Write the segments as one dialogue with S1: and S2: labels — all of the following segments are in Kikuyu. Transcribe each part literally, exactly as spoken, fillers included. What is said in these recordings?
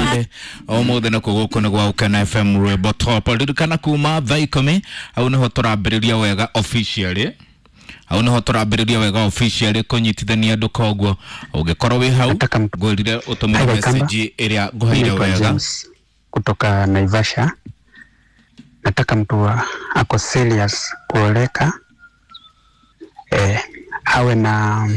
S1: Sunday umuthi nĩ gũkũ nĩ gwa Gũkena F M Rwĩmbo Top. Ririkana kuma thaa ikũmi hau nĩho tũrambĩrĩria wega officially, hau nĩho tũrambĩrĩria wega officially kũnyitithania andũ. Koguo ũngĩkorwo wĩ hau
S2: Nataka mtu-
S1: ngwĩrire ũtũmĩre
S2: Hi, Waikamba.
S1: message ĩrĩa ngũheire
S2: Naitwa
S1: wega.
S2: James kutoka Naivasha. Nataka mtu wa- ako serious kuoleka, eh, awe na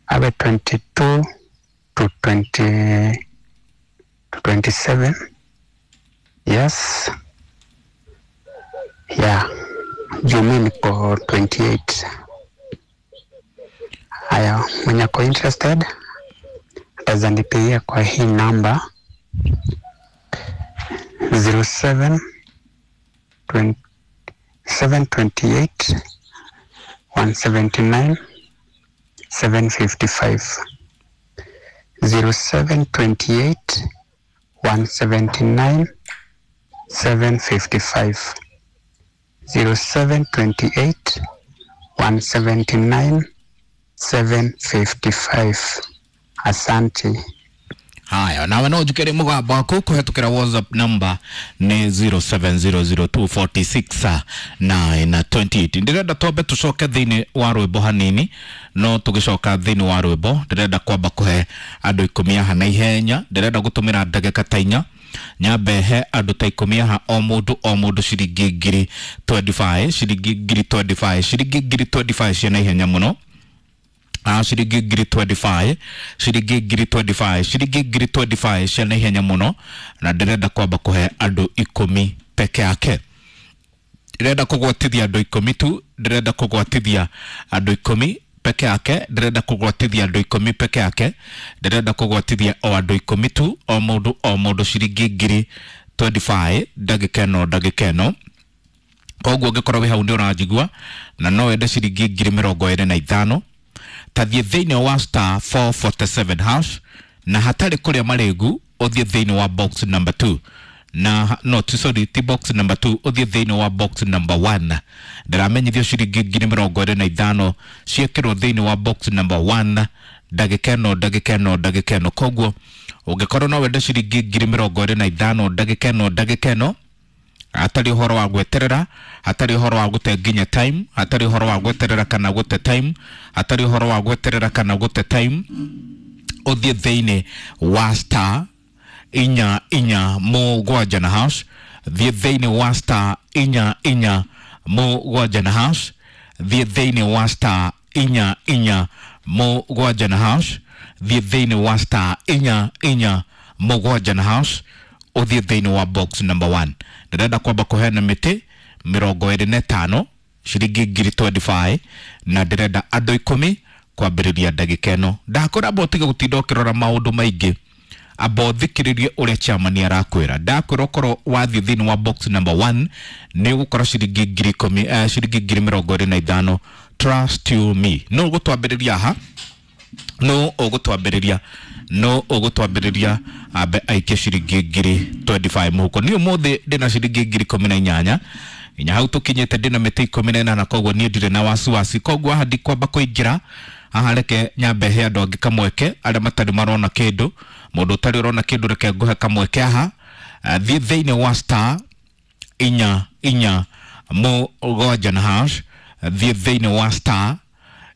S2: awe twenty-two to twenty to twenty-seven. Yes. Yeah. Juu mi niko twenty-eight. Haya, mwenye ako interested ataweza nipigia kwa hii namba zero seven seven twenty eight one seventy nine seven fifty five, zero seven twenty eight one seventy nine seven fifty five, zero seven twenty eight one seventy nine seven fifty five. Asante.
S1: Haya, nawe no njukere mũgambo waku kũhetũkĩra WhatsApp number nĩ zero seven zero zero two forty six nine twenty eight. Ndĩrenda twambe tũcoke thĩinĩ wa rwĩmbo hanini, no tũgĩcoka thĩinĩ wa rwĩmbo ndĩrenda kwamba kũhe andũ ikũmi haha na ihenya. Ndĩrenda gũtũmĩra ndagĩka ta inya nyambe he andũ ta ikũmi haha, o mũndũ o mũndũ ciringi ngiri twenty five, ciringi ngiri twenty five, ciringi ngiri twenty five cia na ihenya mũno. Ah, ciringi ngiri twenty five, ciringi ngiri twenty five, ciringi ngiri twenty five cia na ihenya mũno, na ndĩrenda kwamba kũhe andũ ikũmi peke yake. Ndĩrenda kũgwatithia andũ ikũmi tu, ndĩrenda kũgwatithia andũ ikũmi peke yake, ndĩrenda kũgwatithia andũ ikũmi peke yake, ndĩrenda kũgwatithia o andũ ikũmi tu, o mũndũ o mũndũ ciringi ngiri twenty five ndagĩka ĩno, ndagĩka ĩno. Koguo ũngĩkorwo wĩ hau nĩ ũranjigua na no wende ciringi ngiri mĩrongo ĩrĩ na ithano, tathiĩ thĩinĩ wa star four forty seven hash, na hatarĩ kũrĩa marĩgu ũthiĩ thĩinĩ wa box number two, na no ti, sorry, ti box number two, ũthiĩ thĩinĩ wa box number one. Ndĩramenyithio ciringi ngiri mĩrongo ĩrĩ na ithano ciĩkĩrwo thĩinĩ wa box number one ndagĩka ĩno, ndagĩka ĩno, ndagĩka ĩno. Koguo ũngĩkorwo no wende ciringi ngiri mĩrongo ĩrĩ na ithano ndagĩka ĩno, ndagĩka ĩno, hatarĩ ũhoro wa gweterera, hatarĩ ũhoro wa gũte nginya time, hatarĩ ũhoro wa gweterera kana gũte time, hatarĩ ũhoro wa gweterera kana gũte time, ũthiĩ thĩinĩ wa star inya inya mũgwanja na hash, thiĩ thĩinĩ wa star inya inya mũgwanja na hash, thiĩ thĩinĩ wa star inya inya mũgwanja na hash, thiĩ thĩinĩ wa star inya inya mũgwanja na hash, ũthiĩ thĩinĩ wa box number one. Ndĩrenda kwamba kũheana mĩtĩ mĩrongo ĩrĩ na ĩtano ciringi ngiri twenty five, na ndĩrenda andũ ikũmi kwambĩrĩria ndagĩka ĩno. Ndakwĩra amba ũtige gũtinda ũkĩrora maũndũ maingĩ, amba ũthikĩrĩrie ũrĩa chairman arakwĩra. Ndakwĩra ũkorwo wathiĩ thĩinĩ wa box number one nĩ ũgũkora ciringi ngiri ikũmi, eh, ciringi ngiri mĩrongo ĩrĩ na ithano. Trust you me. No ũgũtwambĩrĩria haha, no ũgũtwambĩrĩria, no ũgũtwambĩrĩria ambe aikie ciringi ngiri twenty five mũhuko. Niĩ ũmũthĩ ndĩna ciringi ngiri ikũmi na inyanya, nginya hau tũkinyĩte ndĩna mĩtĩ ikũmi na ĩnana, koguo niĩ ndirĩ na wasiwasi. Koguo haha ndikwamba kũingĩra haha, reke nyambe he andũ angĩ kamweke arĩa matarĩ marona kĩndũ. Mũndũ ũtarĩ ũrona kĩndũ reke ngũhe kamweke haha. Eh, thiĩ thĩinĩ wa star inya inya mũgwanja na hash, thiĩ thĩinĩ wa star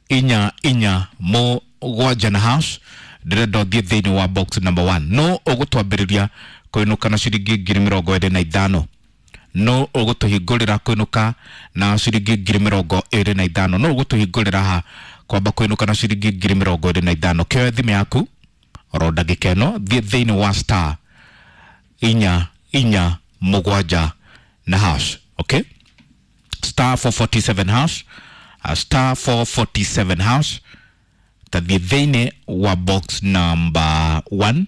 S1: inya inya mũgwanja na hash, ndĩrenda ũthiĩ thĩinĩ wa box number one. No ũgũtwambĩrĩria kũinũka na ciringi ngiri mĩrongo ĩrĩ na ithano, no ũgũtũhingũrĩra kũinũka na ciringi ngiri mĩrongo ĩrĩ na ithano, no ũgũtũhingũrĩra haha kwamba kũinũka na ciringi ngiri mĩrongo ĩrĩ na ithano. Kĩoe thimũ yaku oro ndagĩka ĩno, thiĩ thĩinĩ wa star inya inya mũgwanja na hash. Okay, star four forty seven hash, uh, star four forty seven hash, tathiĩ thĩinĩ wa box number one,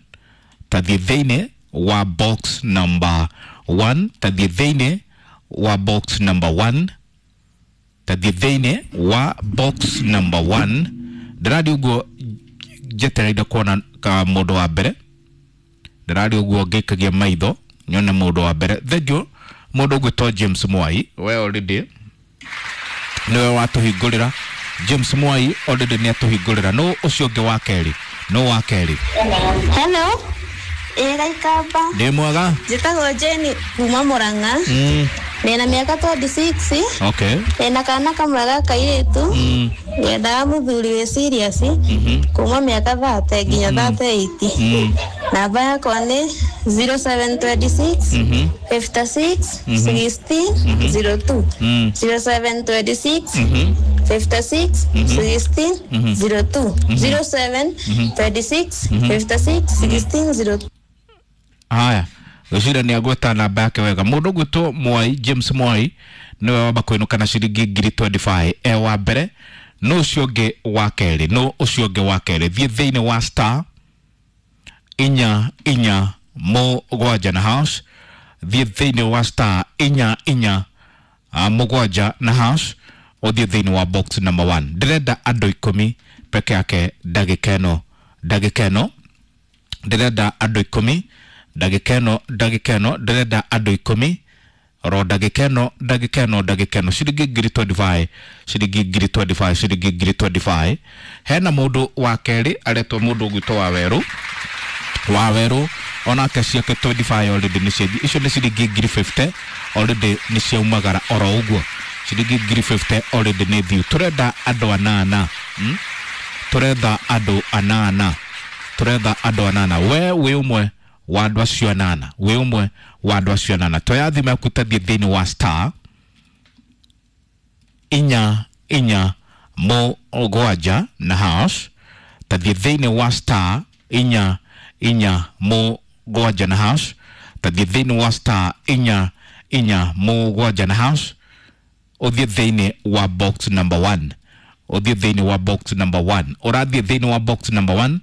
S1: tathiĩ thĩinĩ wa box number one, tathiĩ thĩinĩ wa box number one, tathiĩ thĩinĩ wa box number one. Ndĩrathiĩ ũguo njetereire kuona ka mũndũ wa mbere, ndĩrathiĩ ũguo ngĩikagia maitho nyone mũndũ wa mbere. Thengiũ mũndũ ũgwĩtwo James Mwai, we already nĩwe watũhingũrĩra. James Mwai already nĩ atũhingũrĩra. Nũ ũcio ũngĩ wa kerĩ? Nũ wa kerĩ?
S3: Hello. Ĩ Gaikamba.
S1: Ndĩ mwega.
S3: Njĩtagwo Jane kuma Murang'a.
S1: Mm.
S3: Ndĩna mĩaka twenty-six.
S1: Okay.
S3: Ndĩna kana kamwe ga kairĩtu.
S1: Mm.
S3: Nyendaga mũthuri wĩ serious kuma mĩaka thirty nginya thirty-eight.
S1: Mm.
S3: Namba yakwa nĩ zero seven twenty-six
S1: Mhm.
S3: fifty-six sixteen zero two.
S1: Mm.
S3: zero seven twenty-six
S1: Mhm.
S3: fifty-six sixteen zero two. zero seven twenty-six fifty-six sixteen zero two.
S1: Haya, gwĩciria nĩ agweta namba yake wega. Mũndũ ũgwĩtwo Mwai James Mwai nĩwe wamba kũinũka na ciringi ngiri twenty-five e wa mbere. No ũcio ũngĩ wa kerĩ, no ũcio ũngĩ wa kerĩ, thiĩ thĩinĩ wa star inya inya mũgwanja na hash, thiĩ thĩinĩ wa star inya inya ah, mũgwanja na hash, ũthiĩ thĩinĩ wa box number one. Ndĩrenda andũ ikũmi peke yake ndagĩka ĩno, ndagĩka ĩno ndĩrenda andũ ikũmi ndagĩka ĩno, ndagĩka ĩno ndĩrenda andũ ikũmi oro ndagĩka ĩno, ndagĩka ĩno, ndagĩka ĩno, ciringi ngiri twenty-five, ciringi ngiri twenty-five, ciringi ngiri twenty-five. Hena mũndũ wa kerĩ aretwo mũndũ ũgwĩtwo wa werũ, wa werũ onake ciake twenty-five already nĩ ciathiĩ. Icio nĩ ciringi ngiri fifty already nĩ ciaumagara oro ũguo, ciringi ngiri fifty already nĩ thiu. Tũrenda andũ anana, hmm? Tũretha andũ anana, tũretha andũ anana. We wĩ ũmwe wa andũ acio anana, wĩ ũmwe wa andũ acio anana. Toya thimũ yaku tathiĩ thĩinĩ wa star inya inya mũgwanja na hash, tathiĩ thĩinĩ wa star inya inya mũgwanja na hash, tathiĩ thĩinĩ wa star inya inya mũgwanja na hash, ũthiĩ thĩinĩ wa box number one, ũthiĩ thĩinĩ wa box number one. Ũrathiĩ thĩinĩ wa box number one,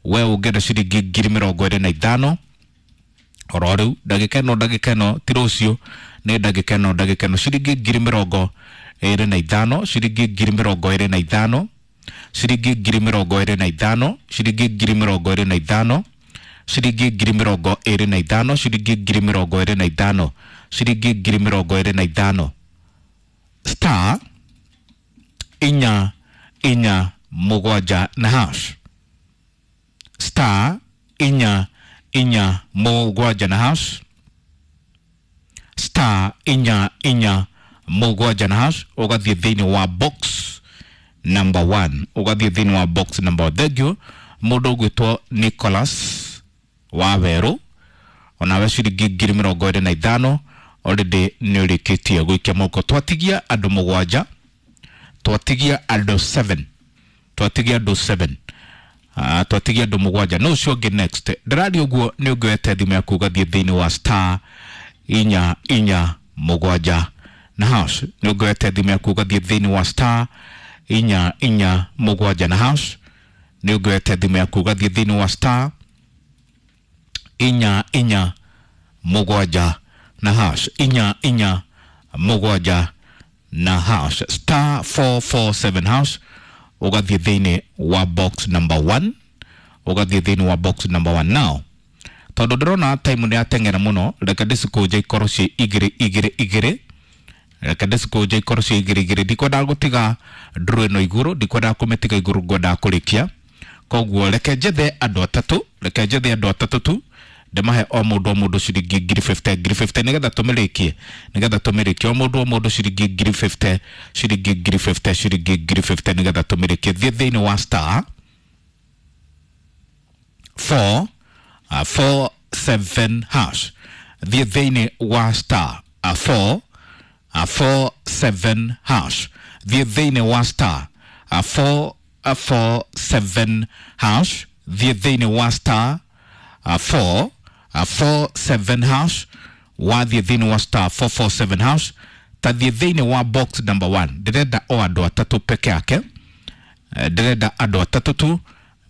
S1: we ũngĩenda ciringi ngiri mĩrongo ĩrĩ na ithano oro rĩu ndagĩka ĩno, ndagĩka ĩno ti rũciũ, nĩ ndagĩka ĩno, ndagĩka ĩno, ciringi ngiri mĩrongo ĩrĩ na ithano, ciringi ngiri mĩrongo ĩrĩ na ithano, ciringi ngiri mĩrongo ĩrĩ na ithano, ciringi ngiri mĩrongo ĩrĩ na ithano, ciringi ngiri mĩrongo ĩrĩ na ithano, ciringi ngiri mĩrongo ĩrĩ na ithano, ciringi ngiri mĩrongo ĩrĩ na ithano. Star inya inya mũgwanja na hash, star inya inya mũgwanja na hash, star inya inya mũgwanja na hash, ũgathiĩ thĩinĩ wa box number one, ũgathiĩ thĩinĩ wa box number one. Thank you mũndũ ũgwĩtwo Nicholas wa werũ, onawe ciringi ngiri mĩrongo ĩrĩ na ithano already nĩ ũrĩkĩtie gũikia moko. Twatigia andũ mũgwanja, twatigia andũ seven, twatigia andũ seven. Uh, twatigia andũ mũgwanja. No ũcio ũngĩ next ndĩraria ũguo nĩ ũngĩwete thimũ yaku ũgathiĩ thĩinĩ wa star inya inya mũgwanja na hash, nĩ ũngĩwete thimũ yaku ũgathiĩ thĩinĩ wa star inya inya mũgwanja na hash, nĩ ũngĩwete thimũ yaku ũgathiĩ thĩinĩ wa star inya inya mũgwanja na hash, inya inya mũgwanja na hash, star four four seven hash, ũgathiĩ thĩinĩ wa box number one, ũgathiĩ thĩinĩ wa box number one. Now tondũ ndĩrona time nĩ yateng'era mũno, reke ndĩcikũnje ikorwo ciĩ igĩrĩ igĩrĩ igĩrĩ, reke ndĩcikũnje ikorwo ciĩ igĩrĩ igĩrĩ. Ndikwendaga gũtiga ndũrũ ĩno igũrũ, ndikwendaga kũmĩtiga igũrũ, ngwendaga kũrĩkia. Koguo reke njethe andũ atatũ, reke njethe andũ atatũ tu, ndĩmahe o mũndũ o mũndũ ciringi ngiri fifty, ngiri fifty, nĩgetha tũmĩrĩkie, nĩgetha tũmĩrĩkie. O mũndũ o mũndũ ciringi ngiri fifty, ciringi ngiri fifty, ciringi ngiri fifty, nĩgetha tũmĩrĩkie. Thiĩ thĩinĩ wa star four, uh, four seven hash, thiĩ thĩinĩ wa star uh, four, uh, four seven hash, thiĩ thĩinĩ wa star uh, four, uh, four seven hash, thiĩ thĩinĩ wa star uh, four, uh, four seven hash, wathiĩ thĩinĩ wa star four four seven hash, tathiĩ thĩinĩ wa box number one. Ndĩrenda o andũ atatũ peke yake, ndĩrenda andũ atatũ tu,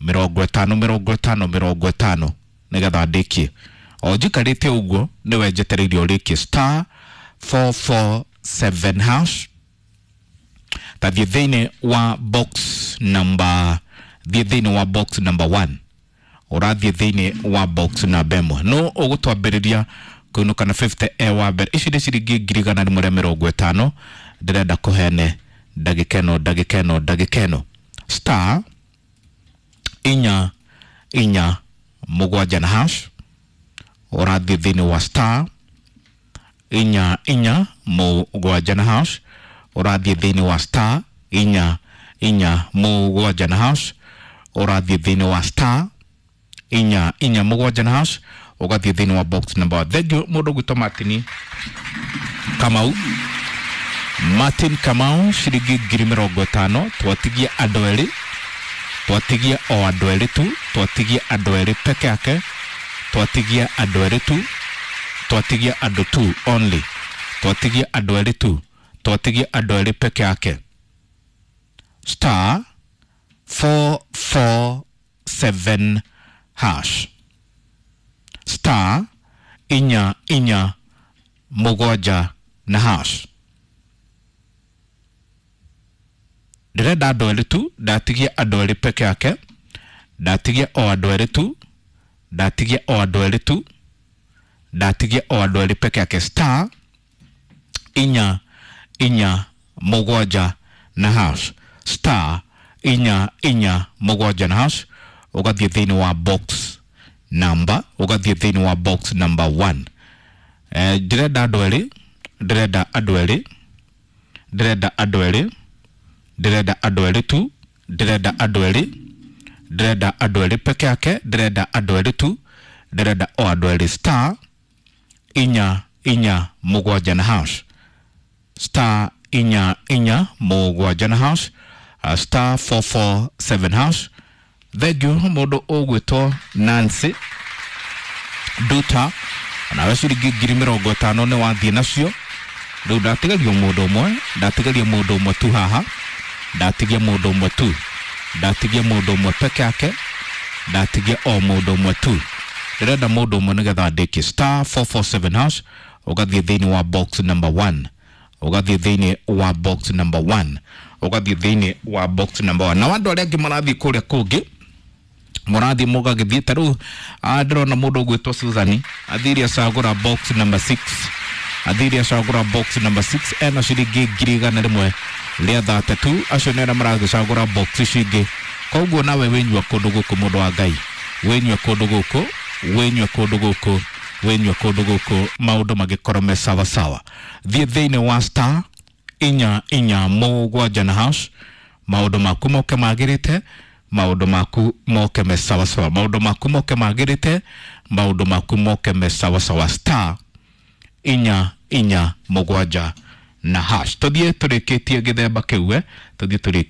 S1: mĩrongo ĩtano mĩrongo ĩtano mĩrongo ĩtano, nĩgetha ndĩkie. O njikarĩte ũguo nĩwe njetereire ũrĩkie star four four seven hash, tathiĩ thĩinĩ wa box number, thiĩ thĩinĩ wa box number one, ũrathiĩ thĩinĩ wa box namba ĩmwe. No ũgũtwambĩrĩria kũinũka na fifty e wa mbere. Ici nĩ ciringi ngiri igana rĩmwe rĩa mĩrongo ĩtano ndĩrenda kũheane ndagĩka ĩno, ndagĩka ĩno, ndagĩka ĩno. Star inya inya mũgwanja na hash, Ũrathiĩ thĩinĩ wa star inya inya mũgwanja na hash. Ũrathiĩ thĩinĩ wa star inya inya mũgwanja na hash. Ũrathiĩ thĩinĩ wa star inya inya mũgwanja na hash, ũgathiĩ thĩinĩ wa box number one. Thank you mũndũ ũgwĩtwo Martin Kamau. Martin Kamau, ciringi ngiri mĩrongo ĩtano. Twatigia andũ erĩ, twatigia o andũ erĩ tu, twatigia andũ erĩ peke yake, twatigia andũ erĩ tu, twatigia andũ tu only, twatigia andũ erĩ tu, twatigia andũ erĩ peke yake. Star four four seven hash, star inya inya mũgwanja na hash. Ndĩrenda andũ erĩ tu, ndatigia andũ erĩ peke yake, ndatigia o andũ erĩ tu, ndatigia o andũ erĩ tu, ndatigia o andũ erĩ peke yake. Star inya inya mũgwanja na hash, star inya inya mũgwanja na hash, ũgathiĩ thĩinĩ wa box number, ũgathiĩ thĩinĩ wa box number one. Eh, ndĩrenda andũ erĩ, ndĩrenda andũ erĩ, ndĩrenda andũ erĩ, ndĩrenda andũ erĩ tu, ndĩrenda andũ erĩ, ndĩrenda andũ erĩ peke yake, ndĩrenda andũ erĩ tu, ndĩrenda o andũ erĩ. Star inya inya mũgwanja na hash, star inya inya mũgwanja na hash, uh, star four four seven hash. Thank you mũndũ ũgwĩtwo Nancy Duta, nawe ciringi ngiri mĩrongo ĩtano nĩ wathiĩ nacio. Rĩu ndatigaria mũndũ ũmwe, ndatigaria mũndũ ũmwe tu haha, ndatigia mũndũ ũmwe tu, ndatigia mũndũ ũmwe peke yake, ndatigia o mũndũ ũmwe tu. Ndĩrenda mũndũ ũmwe nĩgetha ndĩkie. Star four four seven hash, ũgathiĩ thĩinĩ wa box number one, ũgathiĩ thĩinĩ wa box number one, ũgathiĩ thĩinĩ wa box number one. Na andũ arĩa angĩ marathiĩ kũrĩa kũngĩ, mũrathiĩ mũgagĩthiĩ ta rĩu ndĩrona mũndũ ũgwĩtwo Susan athire acagũra box number six, athire acagũra box number six ena ciringi ngiri igana rĩmwe rĩa thate tu. Acio nĩ arĩa maragĩcagũra box ici ingĩ. Koguo nawe wĩnyua kũndũ gũkũ, mũndũ wa Ngai, wĩnyue kũndũ gũkũ, wĩnyue kũndũ gũkũ, wĩnyue kũndũ gũkũ, maũndũ magĩkorwo me sawa sawa. Thiĩ thĩinĩ wa star inya inya mũgwanja na hash, maũndũ maku moke magĩrĩte, maũndũ maku moke me sawa sawa, maũndũ maku moke magĩrĩte, maũndũ maku moke me sawa sawa. Star inya inya mũgwanja na hash. Tũthiĩ tũrĩkĩtie gĩthemba kĩu, eh, tũthiĩ tũrĩkĩtie.